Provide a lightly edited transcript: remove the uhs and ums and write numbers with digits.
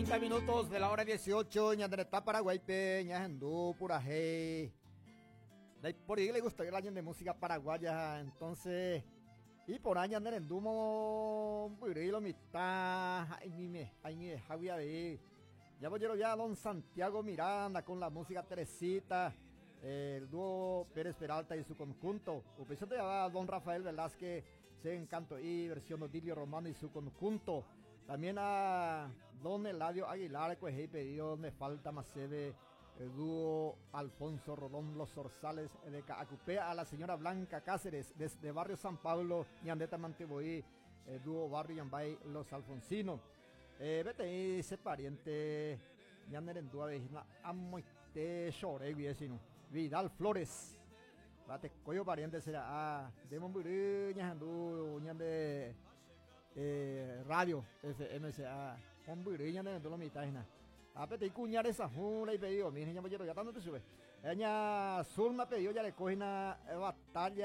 30 minutos de la hora 18, ñande retã Paraguáipe ñahendu purahéi. Ndaipóri le gusta el año de música paraguaya, entonces iporã ñane rendu mombyry lo mitã ha'eñime ha'eñivehágui avei. Ya vojerovia don Santiago Miranda con la música Teresita, el dúo Pérez Peralta y su conjunto. Upéichante java don Rafael Velázquez, Se Encanto'i, versión Odilio Romano y su conjunto. También a don Eladio Aguilar, kuehe ipedido Me falta más chéve, dúo Alfonso Rolón Los Zorzales de Ka'akupe, a la señora Blanca Cáceres desde barrio San Pablo, ñandéta mante voi, dúo Barrio Ñambái Los Alfonsinos. Peteĩ che pariente ñane rendu avei hína amoite chore guive che irũ, Vidal Flores. Vatekói pariente che ra'a nde mombyry ñahendu ñande radio FM che ra'a mombyry ñane rendu lo mitã hína. Ha peteĩ kuña resahũ reipedidomi ñambojeroviáta nde chupe. Ña Zulma pedido jareko hína batalla.